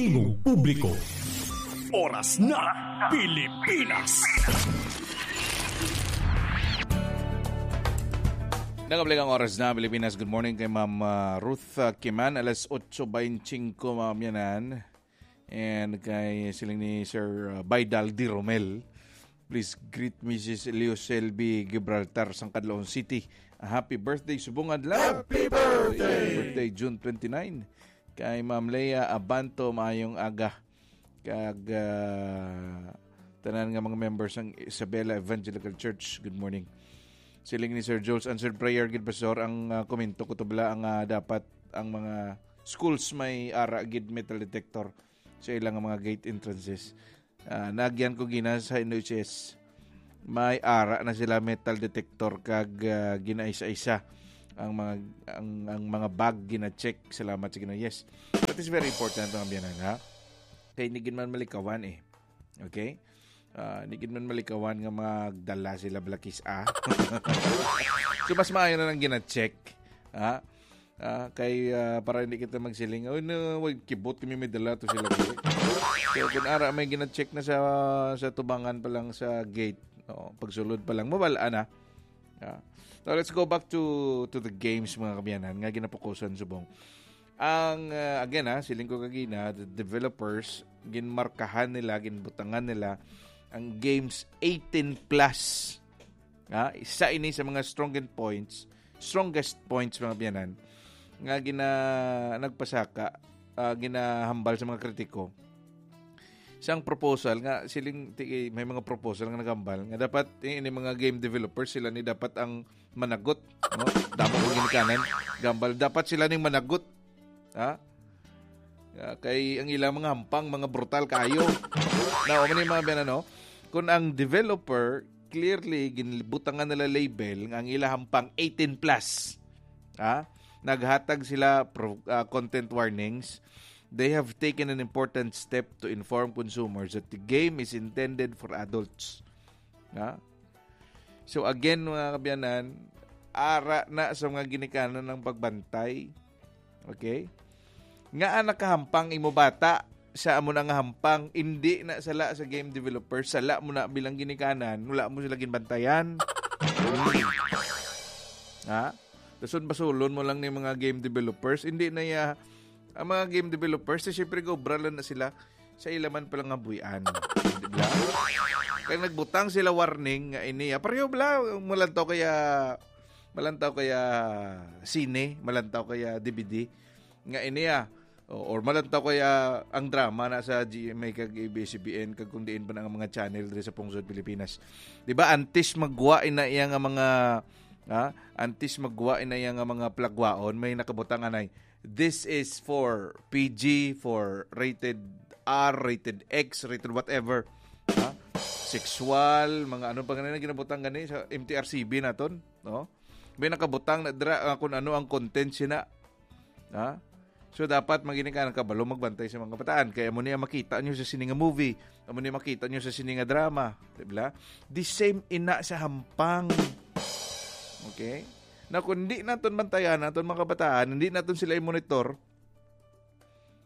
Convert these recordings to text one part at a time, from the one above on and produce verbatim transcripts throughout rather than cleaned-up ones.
Tingog publiko. Oras na, Pilipinas. Nakabalik ang Oras na Pilipinas. Good morning kay Ma'am, ah, Ruth, ah, Kiman. Alas otso beintisinko, mga kamyanan. And kay siling ni Sir, ah, Baidal Di Romel. Please greet Missus Leo Selby Gibraltar, sang Canlaon City. A happy birthday, subong adlaw. Happy birthday! Birthday, June twenty-nine. Kay Ma'am Leah Abanto, maayong aga. Kag, ah, tanan nga mga members sang Isabela Evangelical Church, good morning. Siling ni Sir Jules, answered prayer gid, Pastor, ang, ah, komento ko tubla ang, ah, dapat ang mga schools may ara gid metal detector sa ilang mga gate entrances. Ah, naagyan ko gina sa N H S. May ara na sila metal detector kag, ah, ginaisa-isa ang mga, ang, ang mga bag gina-check. Salamat sa Ginoo. Yes. That is very important, mga biyanan, ha? Kay hindi gid man malikawan, eh. Okay? Ah, hindi gid man malikawan nga magdala sila balakis, ah. So, mas maayo na lang gina-check. Ha? Ah, kay, ah, para hindi kita magsiling, "Uy, no, way kibot kami may dala to sila." So, kung ara may gina-check na sa, sa tubangan pa lang sa gate, no, pagsulod pa lang, mawala na. Ah. Now, let's go back to, to the games, mga kabiyanan, nga ginapukusan subong. Ang, ah, again, ha, siling ko kagina, the developers, ginmarkahan nila, ginbutangan nila ang games eighteen plus. Ha? Isa ini sa mga strongest points, strongest points, mga biyanan, nga gina-, nagpasaka, ah, ginahambal sa mga kritiko. Sang proposal nga, siling, ti-, may mga proposal nga naghambal nga dapat, eh, ini mga game developers, sila ni dapat ang managot, no? Damo ko ginikanan, gambal. Dapat sila ning managot. Ha? Ah, kay ang ilang mga hampang, mga brutal kayo. Now, amo ni mga biyanan, no? Kung ang developer, clearly, ginbutangan nila label nga ang ila hampang eighteen plus. Ha? Naghatag sila pro-, ah, content warnings. They have taken an important step to inform consumers that the game is intended for adults. Ha? So again, mga kabiyanan, ara na sa mga ginikanan ng pagbantay. Okay? Nga nakahampang imo bata sa amo na nga hampang, hindi na sala sa game developer, sala mo na bilang ginikanan, wala mo sila ginbantayan. Ha? Dason basulon mo lang ni mga game developers, hindi na ya, ang mga game developers, eh, syempre, gaobra lang na sila sa ila man pala nga buy-an. Di ba? Kaya nagbutang sila warning nga ini, ah, pareho bala, malantaw kaya, malantaw kaya sine, malantaw kaya D V D, nga ini, ah, o, or malantaw kaya ang drama na sa G M A kag A B S C B N kag kung diin pa na ang mga channel diri sa pungsod Pilipinas. Di ba, antes magwa ina iya nga mga, ha? Antes magwa ina iya nga mga plagwaon, may nakabutang anay, "This is for P G, for rated R, rated X, rated whatever." Ha? Sexual, mga ano pa ganina ginabutang gani sa M T R C B naton, no? May nakabutang na dira, ah, kung ano ang content sina. Ha? So, dapat magini ka ng kabalo magbantay sa mga kabataan. Kaya mo niya makita nyo sa sini nga movie, amo niya makita nyo sa sini nga drama. Di ba? The same ina sa hampang. Okay? Na kung di naton bantayan, naton mga kabataan, hindi naton sila i-monitor,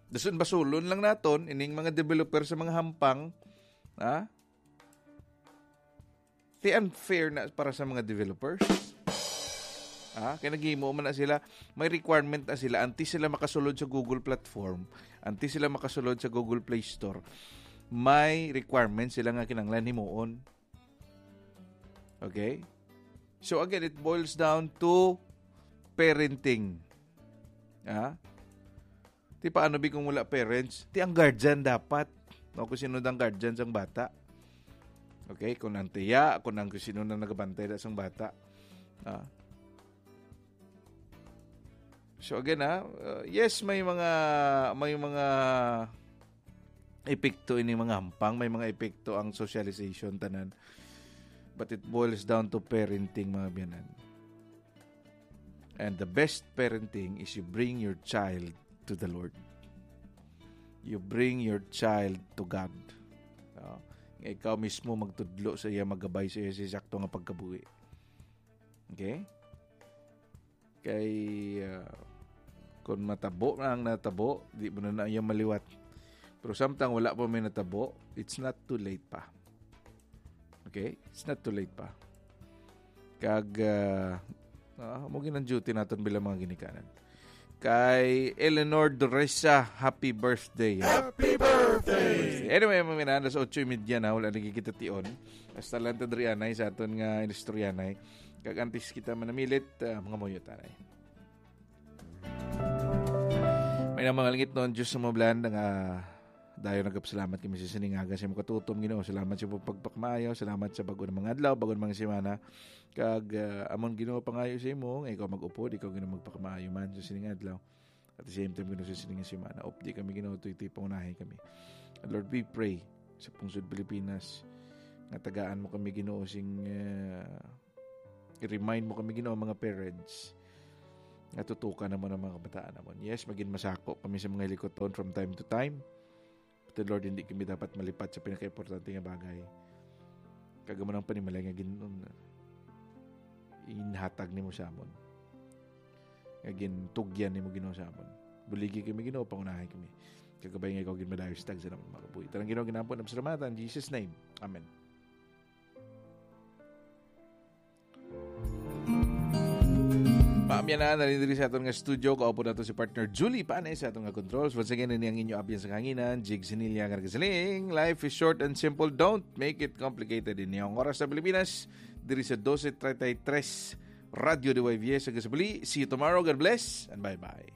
dason basulon lang naton, ining mga developer sa mga hampang, ha? Ti unfair na para sa mga developers. Ah, kay naghimo man na sila, may requirement na sila, antes sila makasulod sa Google platform, antes sila makasulod sa Google Play Store, may requirement sila nga kinahanglan himuon. Okay? So again, it boils down to parenting. Ah? Ti paano bi kung wala parents? Ti ang guardian dapat. No, kung sino ang guardian sang bata. Okay, kung ang tiya, kung ang kung sino na nagabantay na sang bata. Ah. So again, ha, uh, yes, may mga, may mga epekto ini mga hampang, may mga epekto ang socialization tanan. But it boils down to parenting, mga biyanan. And the best parenting is you bring your child to the Lord. You bring your child to God. No? Nga ikaw mismo magtudlo sa iya, magabay sa iya sa sakto nga pagkabuhi. Okay? Kay, ah, kung matabo na ang natabo, di mo na na iya maliwat. Pero samtang wala pa may natabo, it's not too late pa. Okay? It's not too late pa. Kag, ah, ah, mo ginang duty naton bilang mga ginikanan. Kay Eleanor Doresa, happy birthday. Happy birthday! Anyway, mga minahal, alas otso y media na, wala nagkikita tion. Hasta lang ta diri anay sa aton nga inistoryanay. Kag antes kita manamilit, ah, mga muyo tanay. May na mga langit noon, Diyos sa mga blanda nga dayon nagapasalamat kami sa sining aga sa imong katutom, Ginoo. Salamat sa pagpakmaayo, salamat sa bago na mga adlaw, bago na mga semana. Kag, ah, amon, Ginoo, pangayo sa imo nga ikaw mag-upod, ikaw, Ginoo, magpakmaayo man sa sining adlaw. At the same time, Ginoo, sa sining semana, updi kami, Ginoo, tuy-tuy pangunahi kami. And Lord, we pray sa pungsod Pilipinas nga tagaan mo kami, Ginoo, sing, ah, i-remind mo kami, Ginoo, mga parents, nga tutukan naman ang mga kabataan naman. Yes, magin masako kami sa mga hilikuton from time to time. But Lord, hindi kami dapat malipat sa pinakaimportante nga bagay. Kag amo nang panimalay nga gin-, inhatag nimo sa amon. Nga gintugyan nimo, Ginoo, sa amon. Buligi kami, Ginoo, pangunahi kami. Kagabay nga ikaw ginmadayo sa tagsa namon mga kabuhi. Tarang, Ginoo, ginampo na pasalamatan. In Jesus' name. Amen. Paamyanan na rin diri sa aton nga studio. Kaupo nato si partner Julie Panes sa aton nga controls. Once again, ini ang inyo abyan sa kahanginan, Jig Sinilya nga nagasiling, "Life is short and simple. Don't make it complicated." Ini ang oras sa Pilipinas, diri sa dose treinta y tres, Radyo D Y V S ang kasabali. See you tomorrow. God bless and bye-bye.